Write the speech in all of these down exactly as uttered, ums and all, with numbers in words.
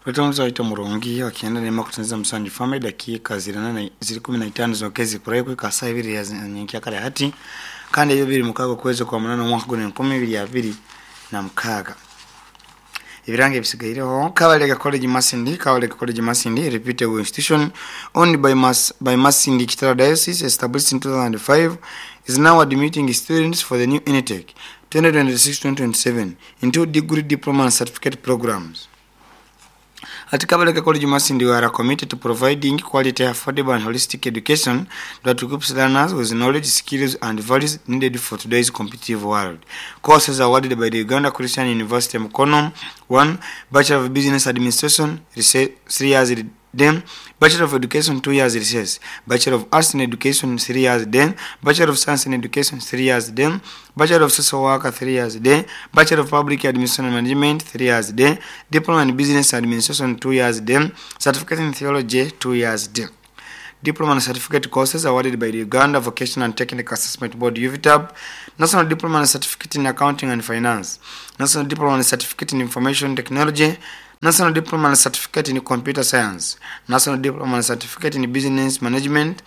Rwetonzo murungi wakienda nema kutenza musanju fame dakika ziri ziri kumi na itano zokezi kurai kwa saa ibiri ya nyenkia kale hati kandi ebyo biri mukago kwezi kwa munana omwaka guno enkumi ibiri abiri na mukaga. Ibirange bisigaireho Kabalega College Masindi. Kabalega College Masindi, reputable institution owned by Mas by Masindi Kitara Diocese, established in two thousand five, is now admitting students for the new intake twenty twenty-six twenty twenty-seven into degree, diploma and certificate programs. At Kabalega College Masindi, we are committed to providing quality, affordable and holistic education that equips learners with knowledge, skills and values needed for today's competitive world. Courses awarded by the Uganda Christian University Mukono: one. Bachelor of Business Administration, three years then. Bachelor of Education, two years recess. Bachelor of Arts in Education, three years then. Bachelor of Science in Education, three years then. Bachelor of Social Work, three years then. Bachelor of Public Administration and Management, three years then. Diploma in Business Administration, two years then. Certificate in Theology, two years then. Diploma and Certificate courses awarded by the Uganda Vocational and Technical Assessment Board, U V T A B, National Diploma and Certificate in Accounting and Finance, National Diploma and Certificate in Information Technology, National Diploma and Certificate in Computer Science, National Diploma and Certificate in Business Management,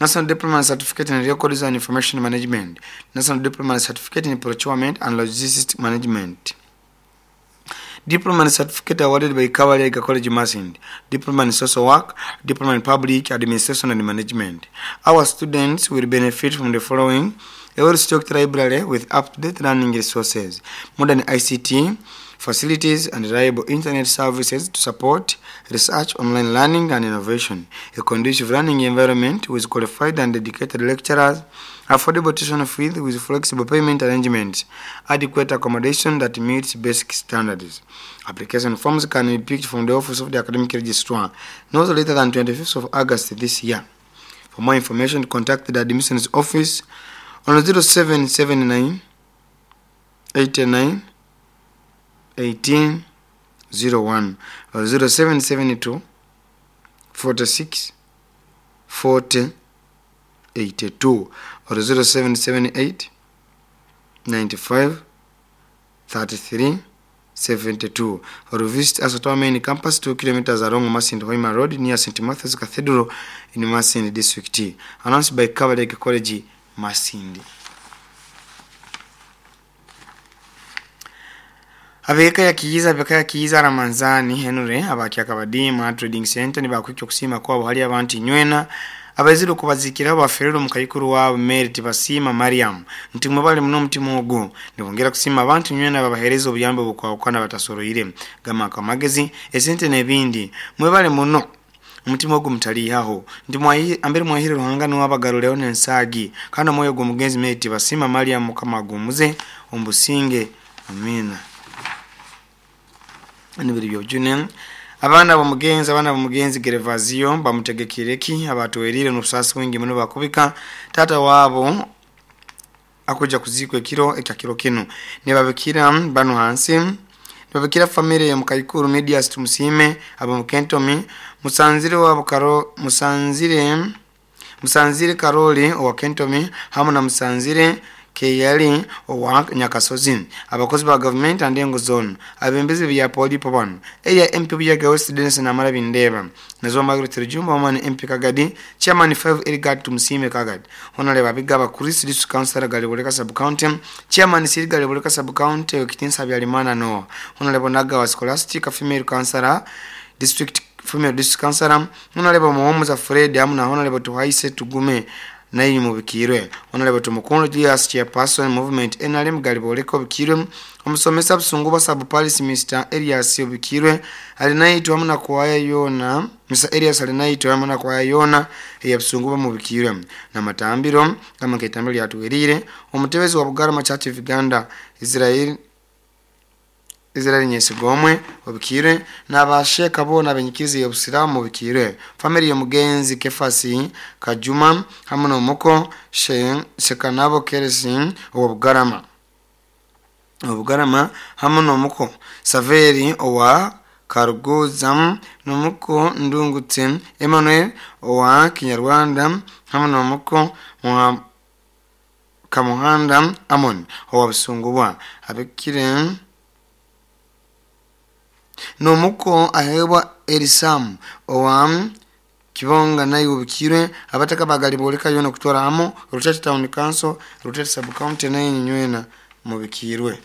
National Diploma and Certificate in Records and Information Management, National Diploma and Certificate in Procurement and Logistics Management. Diploma and Certificate awarded by Kabalega College Masindi, Diploma in Social Work, Diploma in Public Administration and Management. Our students will benefit from the following: a well-stocked library with up-to-date learning resources, modern I C T facilities and reliable internet services to support research, online learning and innovation, a conducive learning environment with qualified and dedicated lecturers, affordable tuition fees with flexible payment arrangements, adequate accommodation that meets basic standards. Application forms can be picked from the office of the academic registrar not later than twenty-fifth of August this year. For more information, contact the admissions office on zero seven seven nine eight nine eighteen zero one or zero seven seven two forty-six forty eighty-two or zero seven seven eight ninety-five thirty-three seventy-two, or visit us at our main campus two kilometers along Masindi Hoima Road near Saint Matthew's Cathedral in Masindi District. Announced by Kabalega College Masindi. Abeka ya kiiza abeka ya kiiza Ramanzani Henry abakia kabadima Trading Center ni bakwikyo kusima kwa hali abantu nywena abaziro kubazikira baferero mukayikuru wa Merit Basima Mariam nti mwebale muno mutima ogo nibongera kusima abantu nywena babahereza obuyambo bukwakwana batasoroire gama kamagezi esente nebindi mwebale muno umutima ogo mutali haho ndi mwayi ambere mwahire ruhanga no abagaruleo nensagi kana moyo go mugenzi Merit Basima Mariam mukamagumuze ombusinge amina. Nibiri byojune abana bomugenzi abana bomugenzi Gervazio bamutegekireki abatowerire n'ubusasi wingi muno bakubika tata wabo akuja kuzikwe kiro ekakiro kino nibabikira bano hansi nibabikira familia ya mukayikuru media tumusime abo mukentomi musanzire wabo karo musanzire musanzire Karoli owa Kentomi hamu na musanzire Keyali owa Nyakasozi abakozi ba government and engo zone abembezi bya poli pobano area M P bya West Dennis na mara bindeba nazo Margaret Rujumba woman M P Kagadi chairman five Elgard Tumusime Kagadi honorable Abigaba Chris district councilor Galiboleka sub county chairman Sir Galiboleka sub county Okitinsa Byalimana no honorable Nagawa Scholastic female councilor district female district councilor honorable Muhomuza Fred amuna honorable Tuhaise Tugume nayi mubikirwe honorable Tumukundu Julius chairperson movement N R M Galiboleka obikirwe omusomesa busungu bwa Paris Mister Elias obikirwe alinaitwa amuna kwaya yona Mister Elias alinaitwa amuna kwaya yona ya busungu mubikirwe na matambiro kama ketambiro yatuwerire omutebezi wa Bugarama Church of Uganda Israel Israel Nyesigomwe obikirwe n'abasheka bona benyikizi ya Busilamu obikirwe family ya mugenzi Kefasi Kajuma hamwe n'omuko Shekanabo Keresi owa Bugarama Obugarama hamwe n'omuko Saveri owa Karugozam n'omuko Ndungutse Emmanuel owa Kinyarwanda hamwe n'omuko Kamuhanda Amon owa Busungubwa abikire N'omuko ahebwa Erisamu owa Kibonga naye obikirwe. Abataka bagali boleka yona kutwara hamu Rutete Town Council, Rutete Sub County naye nywena mubikirwe.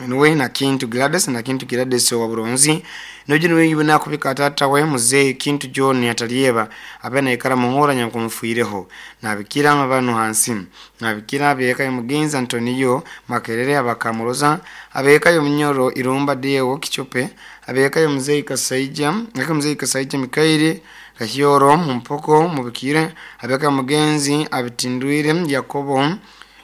Niwe na Kintu Gladys na Kintu Gladys wa Buronzi nojo niwe yibona kubika tata we muzee Kintu John atalieba abena ikara muhora nyakumfuireho nabikira abantu hansi nabikira abeka mugenzi Antonio Makerere abakamuroza abeka yo Munyoro Irumba Deo Kichope abeka yo muzee Kasaija naka muzee Kasaija Mikairi Kahyoro Mumpoko mubikire abeka mugenzi abitindwire Yakobo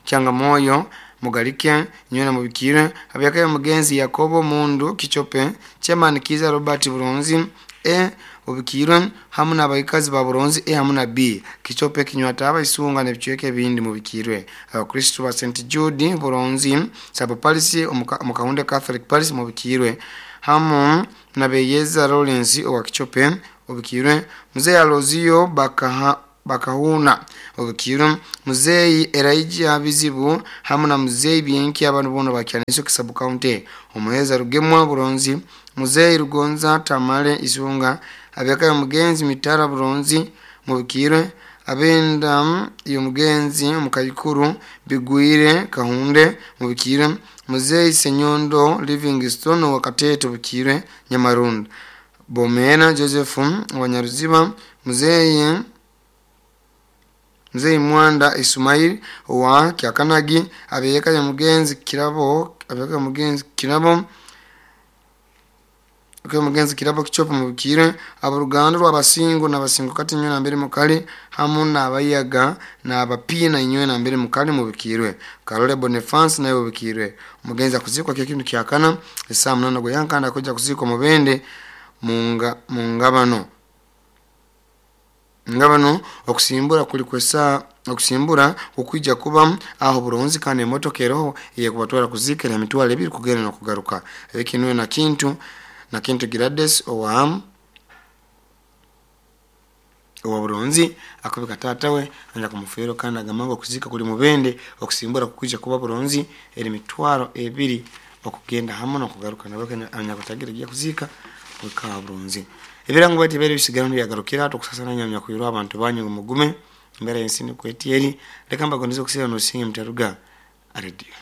Changamoyo Mugalike nywena mubikire abeka mugenzi Yakobo Mundu Kichope Chairman Kiza Robert Buronzi E ubikirwe hamu n'abaikazi ba Buronzi E hamu na B Kichope Kinywataba Isunga n'ebichweke bindi mubikirwe. Abakristo ba Saint Jude Buronzi Sabo Parish Omukahunde Catholic Parish mubikirwe hamu na Beyeza Lawrence owa Kichope ubikirwe. Mzee Alozio Bakaha Bakahuna obukiro muzeyi Elijah Bizibu hamu na muzeyi Bienki abantu bono bakyaniso Kisabu County omuheza Rugemwa Buronzi muzeyi Rugonza Tamale Isunga abeka mugenzi Mitara Buronzi mubikirwe abenda iyo mugenzi mukayikuru Bigwire Kahunde mubikirwe muzeyi Senyondo Livingstone wa Katete bukirwe Nyamarunda Bomena Joseph wa Nyaruziba muzeyi Mzee Mwanda Ismail wa Kyakanagi abeka ya mugenzi Kirabo abeka mugenzi Kirabo kwa mugenzi Kirabo Kichopa mubikire abaruganda rw'abasingo n'abasingo kati nywe na mbere mukali hamu n'abayaga n'abapina inywe na mbere mukali mubikirwe. Karole Boniface naye mubikirwe. Mugenzi akuzikwa kyo kintu kyakana saa munana goyankanda kuja kuzikwa mubende munga mungabano ngabano okusimbura kuli kwesa okusimbura okuija kuba aho Buronzi kandi emotoka eroho yekubatwara kuzikira emitwalo ebiri kugenda no kugaruka ekinwe na Kintu na Kintu Gladys owa owa Buronzi akubika tata we anja kumufero kandi agamanga okuzika kuli mubende okusimbura kukuija kuba Buronzi eri mitwalo ebiri okugenda hamu no kugaruka nabake anya kutagira giya kuzika kwa Buronzi. Ebirango bati bere bisigara byagarukira tokusasana nyamya kuyirwa abantu banyu mugume mbere yensini kwetieri leka mbagonizo kusira no singe mtaruga radio.